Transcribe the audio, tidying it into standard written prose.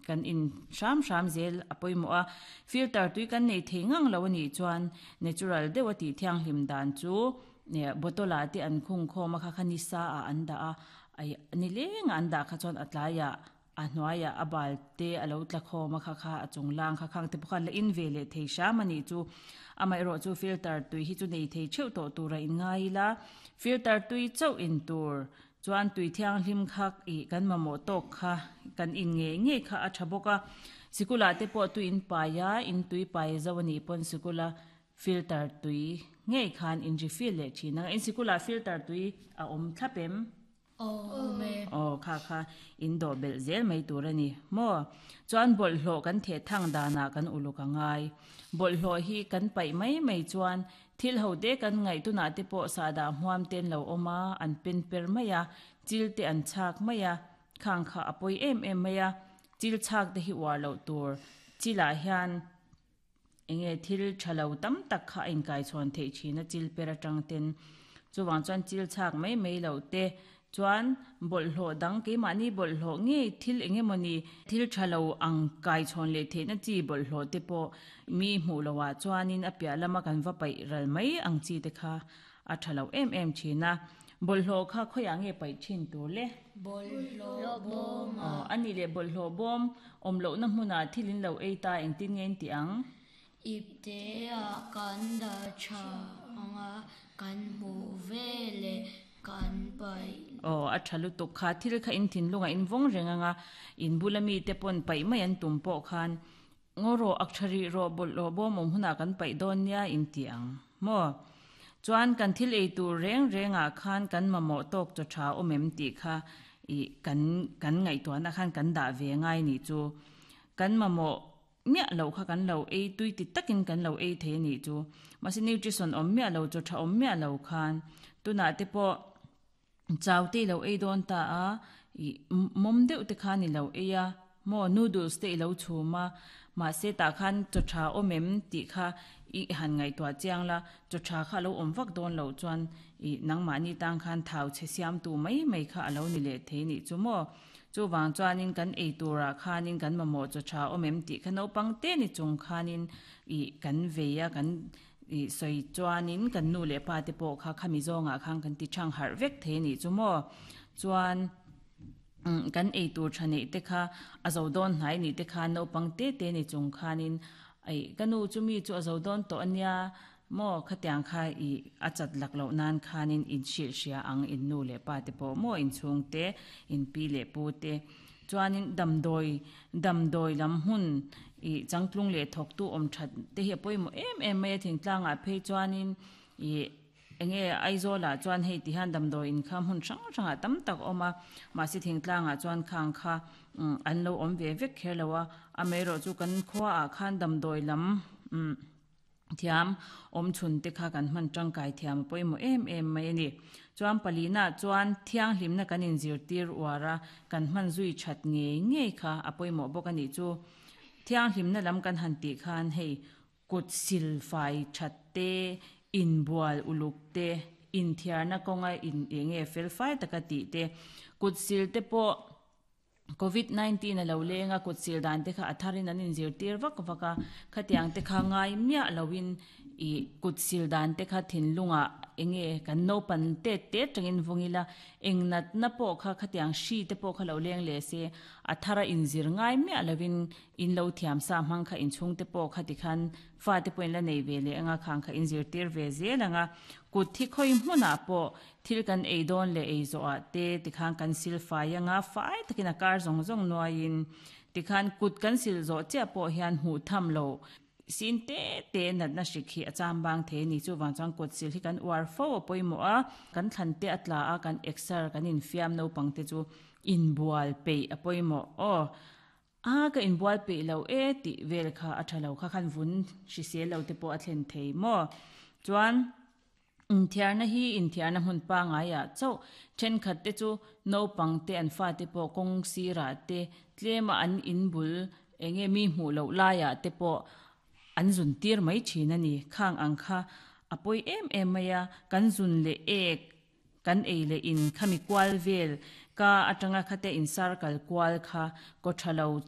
kan in hram hram zel a pawimawh a. Filter tui kan nei thei ngang lo a nih chuan natural deuh a tih thianghlim dan chu bottle ah te an khung khawm a kha kha ni sa ah an dah a, ni leng ah an dah kha chuan a tlaiah a hnuaiah a bal te a lo tla khawm a kha kha a chung lang kha khang te pawh khan la in ve leh thei hram a nih chu. Amaherawh chu filter tui hi chu nei thei theuh tawh tur a inngai ila, filter tui chauh in tur chuan tui thianghlim kha ih kan mamawh tawk kha kan in ngei ngei kha a tha bawk a. Sikula te pawh tui in pai a, in tui pai zo a nih pawn sikula filter tui ngei khan in refill leh thin ang a. In sikula filter tui a awm thlap em? Awm e. Aw, kha kha in dawh belh zel mai tur a ni maw? Chuan bawlhhlawh kan theh thang danah kan uluk a ngai. Bawlhhlawh hi kan paih mai mai chuan thil ho te kan ngaih tunah te pawh sahdah hmuam te an lo awm a, an pen per mai a, chil te an chhak mai a, khang kha a pawi em em mai a, chil chhak te hi uar loh tur. Chilah hian Enge thil tha lo tam tak kha a inkaichhawn theih thin a chil per atang ten. Chuvang chuan chil chhak mai mai loh te chuan bawlhhlawh dang keimahni bawlhhlawh ngei thil eng emawni thil tha lo ang kaichhawn leh theihna chi bawlhhlawh te pawh mi hmuh loh ah chuanin a piah lama kan va paih ral mai ang chi te kha a tha lo em em thin a. Bawlhhlawh kha khawiah nge paih thin tur le? Bawlhhlawh bawm a. Aw, a nih leh bawlhhlawh bawm awm lohna hmunah thil in lo ei ta engtin nge in tih ang? Ipte ah kan dah tha ang a, kan hmuh ve leh kan paih. Aw, a tha lutuk kha, thil kha in thinlungah in vawng reng ang a, in bula mite pawn paih mai an tum pawh khan Ngaw rawh, ak tha rih rawh, bawlhhlawh bawm awm hunah kan paih dawn nia in ti ang maw? Chuan kan thil ei tur reng rengah khan kan mamawh tawk chaw tha awm em tih kha ih kan kan ngaihtuahna khan kan dah ve ngai nih chu. Kan mamawh miah loh kha kan lo ei tui ti takin kan lo ei thei a nih chu. Mahse nutrition awm miah lo, chaw tha awm miah lo khan tunah te pawh Chau te i lo ei dawn ta a, ih mawm deuh te khan i lo ei a, maw noodles te i lo chhum a, mahse tah khan chaw tha awm em tih kha i han ngaihtuah chiang la, chaw tha kha a lo awm vak dawn loh chuan ih nangmahni tang khan thau chhe siamtu mai mai kha a lo ni leh thei nih chu maw. Chuvang chuanin kan ei turah khanin kan mamawh chaw tha awm em tih kha naupang te ni chung khanin ih kan vei a, kan I sawi chuanin kan nu leh pa te pawh kha khami zawngah khan kan ti thang harh vek thei a nih chu maw? Chuan kan ei tur tha neih te kha a zo dawn hnai nih te khan naupang te te ni chung khanin aih ka nu chu mi chu a zo dawn tawh a nia maw khatiang kha i a chat lak loh nan khanin in hrilh hria ang in nu leh pa te pawh maw inchhung te in pi leh pu te. Chuanin damdawi, damdawi lam hmun ih changtlung leh thawktu awm that te hi a pawimawh em em mai a, thingtlangah phei chuanin ih eng nge Aizawlah chuan hei ti hian damdawi in kha hmun hrang hrangah tam tak a awm a, mahse thingtlangah chuan khang kha an lo awm ve vek kher lo a, amaherawhchu chu kan khuaah khan damdawi lam umm. Thiam awm chhun te kha kan hman tangkai thiam a pawimawh em em mai a ni. Chuan palina chuan thianghlimna kan inzirtir uar a, kan hman zui that ngei ngei kha a pawimawh bawk a nih chu. Thianghlimna lam kan han tih khan hei kut sil fai that te, inbual uluk te, inthiarna kawnga in eng nge fel fai taka tih te, kut sil te pawh, Covid 19 a lo leng a, kut sil dan te kha a tharin an inzirtir vak vak a, khatiang te kha ngai miah loin ih kut sil dan te kha thinlungah eng nge kan naupan tet tet tangin vung ila, eng natna pawh kha khatiang hri te pawh kha lo leng leh se, a thara inzir ngai miah loin in lo thiam sa hmang kha inchhung te pawh kha tikhan fate pawhin la nei ve leh anga khang kha inzirtir ve zel ang a, kut hi khawi hmunah pawh Thil kan ei dawn leh ei zawhah te tikhan kan sil fai anga fai takin a kar zawng zawng nuaiin tikhan kut kan sil zawh chiah pawh hian hmuh tham lo sin te te natna hrik hi a cham bang thei a ni. Chuvang chuan kut sil hi kan uar fo a pawimawh a, kan thlan te a tla a, kan exer kan infiam naupang te chu inbual peih a pawimawh aw. A ka inbual peih lo e tih vel kha a tha lo kha khan vun hrisel lo te pawh a thlen thei maw? Chuan. Inthiarna hi inthiarna hmun pangaiah chauh thenkhat te chu naupang te an fate pawh kawng sirah te tlema an inbul eng nge mi hmuh loh laiah te pawh an zun tir mai thin a ni. Khang ang kha a pawi em em mai a, kan zun leh ek kan ei leh in khami kual vel ka atanga khate in circle kual kha kaw tha lo.